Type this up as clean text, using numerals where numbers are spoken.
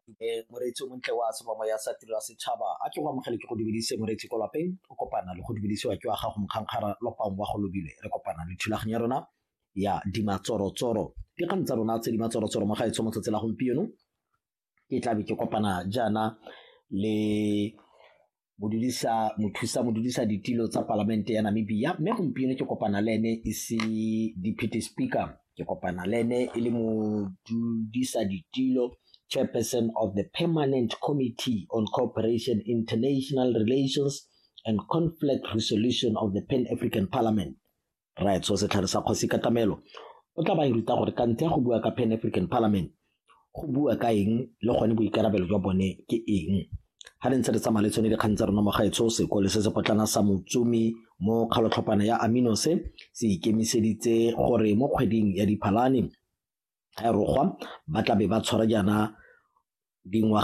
Moreetsi o montle wa seromo ya sa tiro ya setšhaba, a ke go amogele, ke go dumedise moreetsi ko lapeng. O kopana le go dumedisiwa ke wa gago Mokgankgara Lopang wa go lobile. Re kopana le thulaganyo ya rona ya dimatsorotsoro, dikgang tsa rona tse di matsorotsoro mo gaetsho. Mo tsatsi la gompieno ke tlabe ke kopana jaana le modudisa mothusa modudisa ditilo tsa palamente ya Namibia, mme gompieno ke kopana le ene e se deputy speaker, ke kopana le ene e le modudisa ditilo, chairperson of the Permanent Committee on Cooperation, International Relations and Conflict Resolution of the Pan African Parliament, right? So setlhare sa kgosi Katamelo o tla ba e ruta gore kante ya go bua ka Pan African Parliament go bua ka eng, le gone boikarabelo jwa bone ke eng. Ga re ntse re tsamaya le tsone dikgang tsa rona mo gaetsho, sekole se se potlana sa Motsumi mo kgalotlhopana ya Aminose se ikemiseditse gore mo kgweding ya Diphalane ga e rogwa ba tlabe ba tshwara jaana dingwaga